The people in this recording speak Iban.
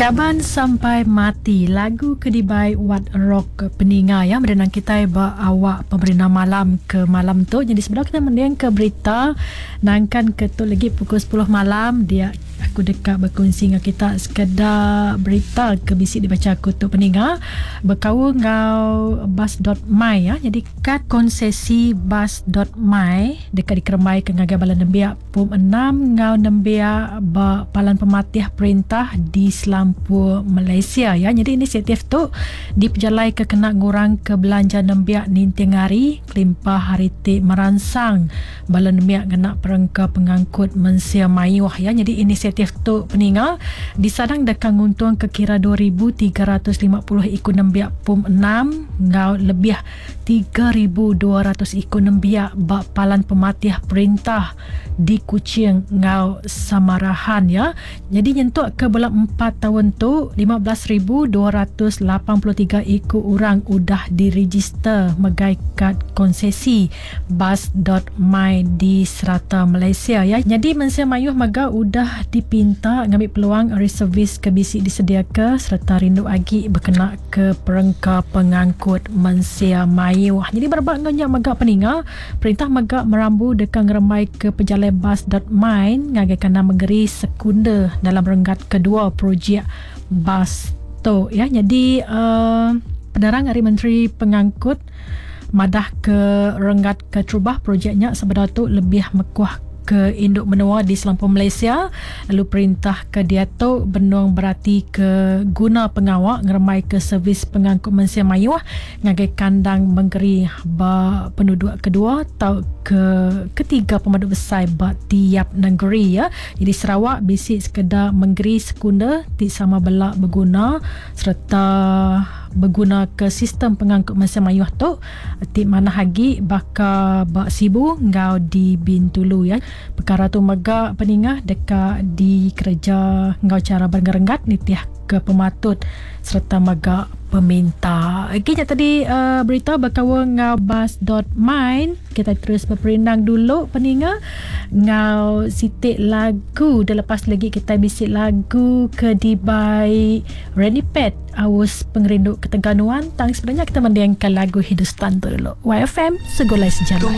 Kaban Sampai Mati lagu ke dibai Wat Rock peninga ya merenang kitai ba awak pemerindang malam ke malam tu. Jadi sebedau kita mending ke berita nangkan ke tu lagi pukul 10 malam dia aku deka bekunsi enggau kita sekeda berita ke bisi dibacha aku tu peninga bekaul enggau bas.my ya. Jadi kad konsesi bas.my deka dikerembaika ngagai bala nembiak Pom enam enggau nembiak ba palan pematih perintah di selampur Malaysia ya. Nyadi inisiatif tu dipejalaika kena ngurangka belanja nembiak ninting hari kelimpah ari ti meransang bala nembiak ngena perengka pengangkut mensia mayuh ya. Nyadi inisiatif tu peninga disadang deka nguntungka kira 2350 iku nembiak Pom enam enggau lebih 3,200 iku nembiak ba palan pematih perintah di Kuching enggau Samarahan ya. Nyadi nyentuk ke bulan empat taun tu, 15,283 iku orang udah direjister megai kad konsesi bas.my di serata Malaysia ya. Nyadi mensia mayuh mega udah dipinta ngambi peluang ari servis ke bisi disediaka sereta rindu agi bekena ke perengka pengangkut mensia mayuh. Nyadi berebak enggau nya mega peninga, perintah mega merambu deka ngerembaika pejalai bas dot main ngagai kandang mengeri sekunder dalam renggat kedua projek bas tu ya. Nyadi uhh penerang ari Menteri Pengangkut madah ke renggat keterubah projek nya sebedau tu lebih mekuh ke indu menua di selampur Malaysia lalu perintah ke diatu benung beratika guna pengawa ngerembaika servis pengangkut mensia mayuh ngagai kandang mengeri ba penuduk kedua tauka ketiga pemadu besai ba tiap nengeri. Nyadi Sarawak bisi sekeda mengeri sekunder ti sama bela beguna sereta begunaka sistem pengangkut mensia mayuh tu ti manah agi baka ba Sibu enggau di Bintulu ya. Pekara tu mega peningah deka dikereja enggau chara berenggat-renggat nitih ke pematut sereta mega peminta. Okey nya tadi uh, berita bekaul enggau bus.mine. Kita terus beperindang dulu peninga enggau siti lagu. Dah lepas lagi kita bisi lagu ke dibai Randy Pet Aus Pengerindu Ketegal Nuan tang sebenarnya kita mendingka lagu Hindustan tu dulu. YFM Segulai Sejalai.